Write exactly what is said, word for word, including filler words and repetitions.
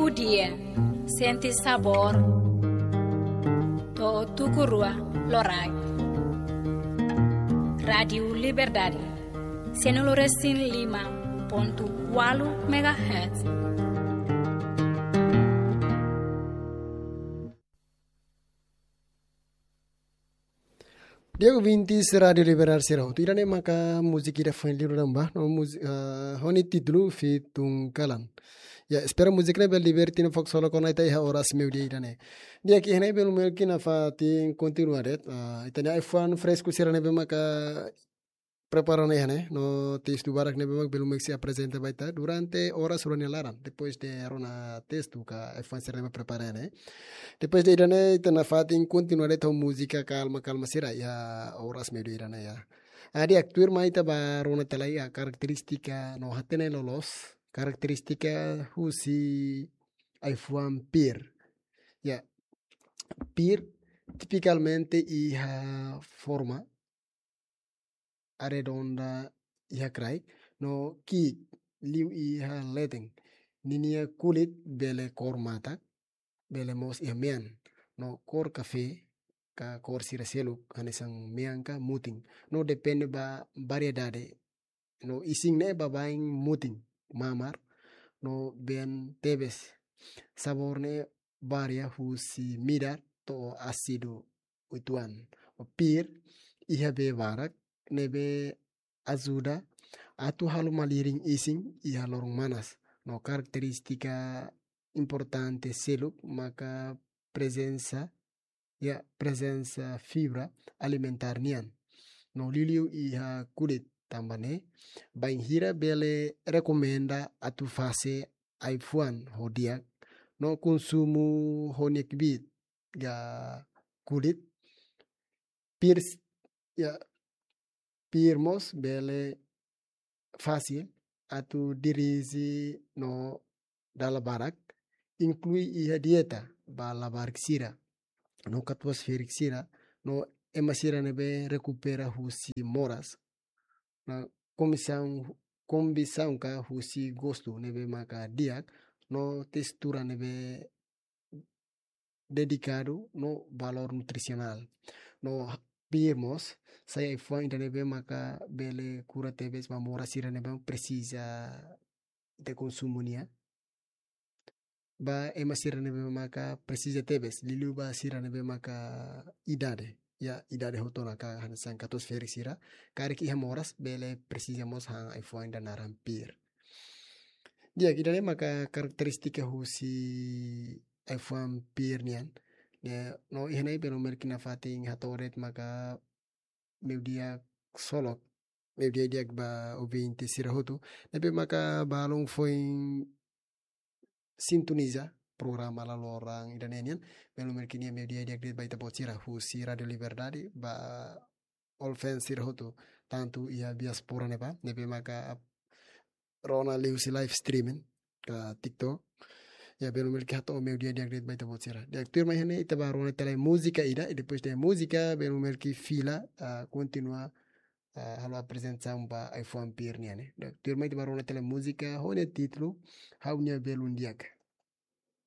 Dia, sente sabór. To'o tuku rua loraik. Rádiu Liberdade, cento e cinco ponto cuatro megahertz. Di'ak ouvintes Rádiu Liberdade sira hotu, ida-ne'e maka múzika ida foin liu daudaun ba, no múzi-, ah, ho nia títulu Fitun Kalan. Ya, espera múzika ne'e bele liberte no fokus solo kona ita iha oras meiudia ida-ne'e. Di'ak, iha ne'e belun Melki nafatin kontinua de'it, ah, ita-nia ai-fuan fresku sira ne'ebé maka prepara ona iha ne'e, no testu barak ne'ebé mak belun Melki sei aprezenta ba ita durante oras rua nia laran, depois de rona testu ka ai-fuan sira ne'ebé prepara iha ne'e. Depois de ida-ne'e, ita nafatin kontinua de'it ho múzika kalma-kalma sira iha oras meiudia ida-ne'e ya. Ah, di'ak, tuirmai ita bá rona tiha lai iha karakterístika no hatene loloos, karakterístika husi ai-fuan pir. Ya, pir tipikalmente iha forma arredonda iha kraik, no ki'ik liu iha leten. Ninia kulit bele kór matak, bele mós iha mean, no kór kafé ka kór sira seluk, hanesan mean ka mutin. No depende ba variedade. No isin ne'e baibain mutin, mamar, no been tebes. Sabór ne'e varia husi midar to'o ásidu uitoan. Pir iha bee barak, ne'ebé ajuda atu halo malirin isin iha loron manas. No karakterístika importante seluk maka prezensa, ya, prezensa fibra alimentár nian. No liuliu iha kulit, tanba ne'e bainhira bele rekomenda atu fase ai-fuan ho di'ak, no konsumu ho nia kbiit ka kulit. Pir s-, ya, pir mós bele fasil atu dirije no dala barak, inklui iha dieta ba labarik sira no katuas-ferik sira, no ema sira ne'ebé rekupera husi moras. No kombisaun, kombisaun ka husi gostu ne'ebé maka di'ak, no testura ne'ebé dedikadu no valór nutrisionál. No pir mós sai ai-fuan ida ne'ebé maka bele kura tebes ba moras sira ne'ebé presiza ita konsumu nia. Ba ema sira ne'ebé maka presiza tebes, liuliu ba sira ne'ebé maka idade, ya, idade hotu ona ka hanesan katuas-ferik sira, karik iha moras bele presiza mós han ai-fuan ida naran pir. Di'ak, ida-ne'e maka karakterístika husi ai-fuan pir nian. Ne'e, no iha ne'e belun Melki nafatin hato'o de'it maka meiudia solok, meiudia di'ak ba ouvinte sira hotu ne'ebé maka balun foin sintoniza programa La Loran ida-ne'e nian. Belun Melki nia meiudia di'ak de'it ba ita-boot sira husi Rádiu Liberdade, ba all fans sira hotu, tantu iha diáspora ne'ebá, ne'ebé maka rona liuhusi live streaming ka TikTok. Ya, belun Melki hato'o meiudia di'ak de'it ba ita-boot sira. Di'ak, tuirmai iha ne'e ita bá rona tiha lai múzika ida, i depois de múzika belun Melki fila, ah, kontinua, ah, halo aprezentasaun ba ai-fuan pir nian ne'e. Di'ak, tuirmai ita bá rona tiha lai múzika ho nia títulu Ha'u-nia Belun Di'ak.